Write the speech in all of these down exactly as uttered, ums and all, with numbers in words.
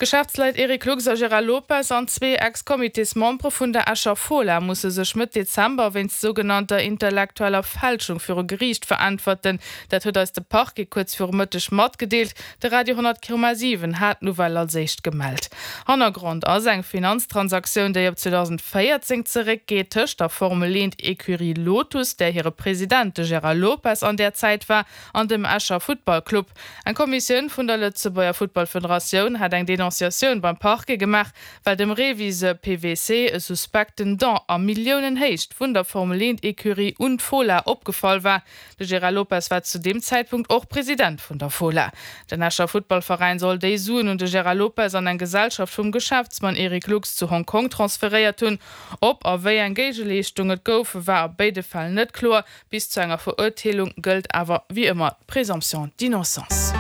D'Geschäftsleit Eric Lux a Gérard Lopez an zwee Ex-Comitésmembere vun der Escher Fola musse sech Mëtt Dezember wéinst sougenannter intellektueller Fälschung viru Geriicht veräntwerten. Dat huet eis de Parquet kuerz viru Mëtteg matgedeelt. De Radio honnert Komma siwen hat d'Nouvelle als éischt gemellt. Hannergrond ass eng Finanztransaktioun, déi op zweedausendvéierzéng zeréckgeet, tëscht der Formel eent Ecurie Lotus, där hire President de Gérard Lopez an där Zäit war, an dem Escher Futtballclub. Eng Kommissioun vun der Lëtzebuerger Futtballfederatioun hat eng Denonciatioun beim Parquet gemaach, well dem Reviseur P W C e suspekten Don a Milliounenhéicht vun der Formel eent Ecurie un d'Fola opgefall war. De Gérard Lopez war zu deem Zäitpunkt och President vun der Fola. Den Escher Futtballveräin soll déi Suen un de Gérard Lopez an eng Gesellschaft vum Geschäftsmann Eric Lux zu Hong Kong transferéiert hunn. Ob a wéi eng Géigeleeschtung et gouf, war a béide Fäll net kloer. Bis zu enger Verurteelung gëllt awer wéi ëmmer d'Présomption d'innocence.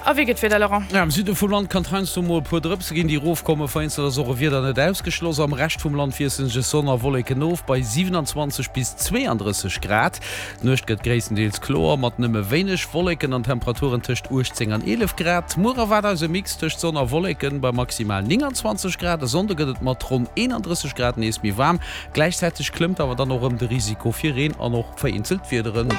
A wéi geet d'Wieder, Laurent? Am Süde vum Land kann et heiansdo mol e puer Drëpse ginn, déi erofkommen. Vereenzelt ass och e Wieder net ausgeschloss. Am Rescht vum Land wiessele sech Sonn a Wolleken of bei siewenundzwanzeg bis zweeandrësseg Grad. D'Nuecht gëtt gréisstendeels kloer mat nëmme wéineg Wolleken an Temperaturen tëscht uechtzéng an eelef Grad. Muer erwaart eis e Mix tëscht Sonn a Wolleken bei maximal nénganzwanzeg Grad. E Sonnde gëtt et mat ronn eenandrësseg Grad nees méi waarm. Gläichzäiteg klëmmt awer dann och erëm de Risiko fir Reen an och vereenzelt Wiederen.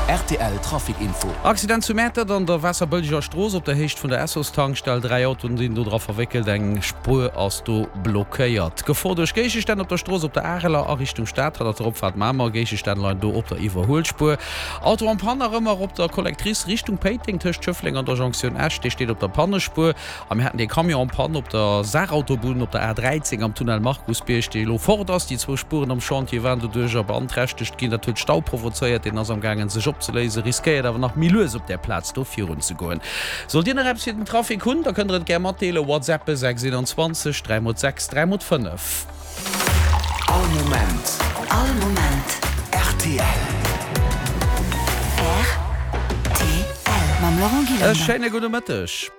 R T L Trafic Info. Accident zu Mäertert an der Waasserbëlleger Strooss op der Héicht vun der Essos-Tankstell. Dräi Autoen sinn do dra verwéckelt, eng Spuer ass do blockéiert. Gefor duerch Géigestänn op der Strooss op der Areler a Richtung Stad, hannert der Opfaart Mamer. Géigestänn leien do op der Iwwerhuelspuer. Auto en panne nach ëmmer op der Collectrice Richtung Péiteng tëscht Schëffleng an der Jonktioun Esch, dee steet op der Pannespuer. A mir haten dee Camion en panne op der Saarautobunn op der A dräizéng am Tunnel Markusbierg, dee elo fort ass. Déi zwou Spueren am Chantier waren doduercher beanträchtegt ginn. Dat huet Stau provozéiert. Deen ass am gaangen sech opzeléisen, riskéiert awer nach méi lues op där Plaz do virun ze goen. Sollt Dir nach eppes fir den Trafic hunn, da kënnt der et gär matdeelen, WhatsAppe sechs einundzwanzeg dräi mol sechs dräi mol fënnef. All Moment. All Moment. R T L. R T L. Mam Laurent E Gillander. Schéine gudde Mëtteg.